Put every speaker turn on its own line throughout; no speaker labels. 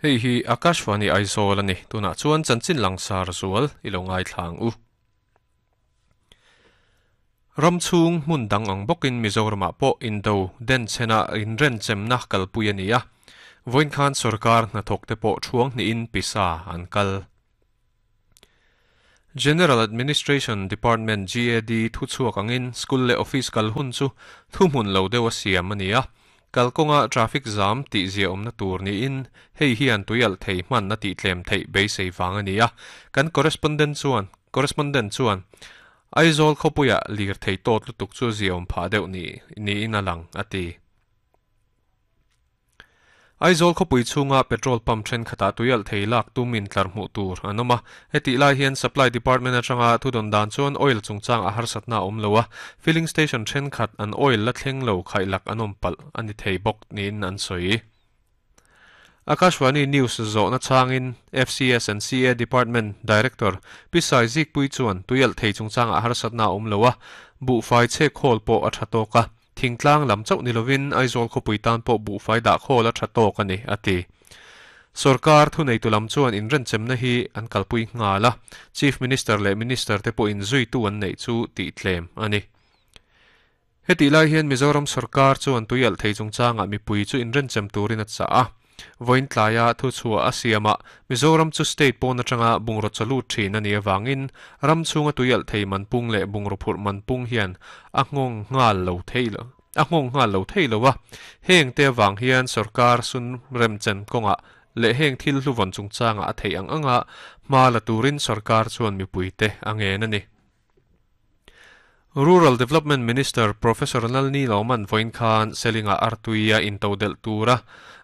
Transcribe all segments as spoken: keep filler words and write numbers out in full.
Hei hi Akashvani Aizawl ani tuna chuan chanchin langsar zual ilo ngai thlang u. Ramchhung hmun dang ang bawkin Mizoramah pawh indo den chena inren chemna kalpui ani a. Vawiin khan sarkar hnathawk te pawh thuang hnihin pisa an kal. General Administration Department G A D thu chhuak angin school le office kal hun chu thu hmun lo deuh a siam ani a. Kalkawnga traffic jam tih zia awmna tur niin hei hian tuialh thei hman a tih tlem theih beisei vang ani a. Kan correspondent chuan correspondent chuan Aizawl khawpuia lir thei tawt lutuk chu zia awm phah deuh ni niin a lang a ti. Aizawl khawpui chhunga petrol pump thenkhatah tuialh thei lak tumin tlar hmuh tur an awm a. Heti lai hian supply department atanga thu dawn dan chuan oil chungchang a harsatna awm lo a. Filling station thenkhat an oil la thleng lo khaih lak an awm palh ani thei bawk niin an sawi. Akashvani News zawhna changin F C S and C A Department Director Pisai Zikpui chuan tuialh thei chungchang a harsatna awm lo a. Bu fai che khawl pawh a tha tawk a. Thingtlang lam chauh ni lovin Aizawl khawpui tan pawh bu fai dah khawl a tha tawk ani a ti. Sarkar thu nei tu lam chuan inren chemna hi an kalpui nghal a. Chief Minister leh Minister te pawh inzui tu an neih chu tih tlem ani. Heti lai hian Mizoram sarkar chuan tuialh thei chungchangah mipui chu inren chem turin a chah a. Vawiin tlaia thu chhuah a siamah Mizoram chu state pawn atanga bungraw chalu thin ani awangin ram chhunga tuialh thei manpung leh bungraw phurh manpung hian a nghawng nghal lo thei lo a nghawng nghal lo thei lo a. Heng te awang hian sarkar sun remchen kawngah leh heng thil hluvawn chungchangah a thei ang anga hma la turin sarkar chuan mipui te a ngen ani. Rural Development Minister Professor Lalni Loman vawiin khan Selinga Artuia intodel tura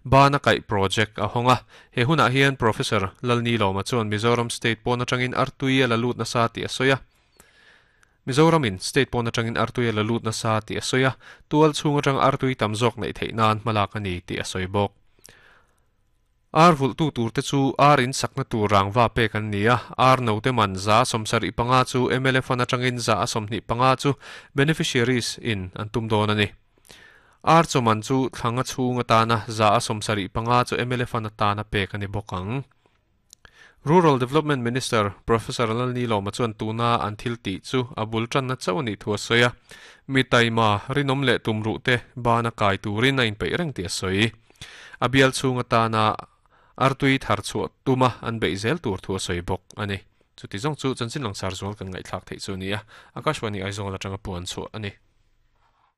bana kai project a honga. He hunah hian Professor Lalni Loma chuan Mizoram State pawn atangin Artuia la lut nasa ti a sawi a. Mizoramin State pawn atangin Artuia la lut nasa ti a sawi a. Tual chhung atang Artui tam zawk neih theih nan hmalak ani ti a sawi bawk. Ar vul tu tur te chu ar in sakna tur rangwa pek an ni a. Ar no te man za sawmsarih panga chu M L F an atangin za a sawmhnih panga chu beneficiaries in an tum dawn ani. Ar chawman chu thlanga chhung atana za a sawmsarih panga chu M L F an atana pek ani bawk ang. Rural Development Minister Professor Lalni Loma chuan tuna an thil tih chu a bul tanna chauh ani thu a sawi a. Mi taima rinom leh tumruh te bana kai turin a inpeih reng ti a sawi. A bial chhung atana Artui thar chhuah tuma an beih zel tur thu a sawi bawk ani. Chuti zawng chu chanchin langsar zual kan ngaihthlak theih chu ni a. Akashvani Aizawl atanga puan chhuah ani.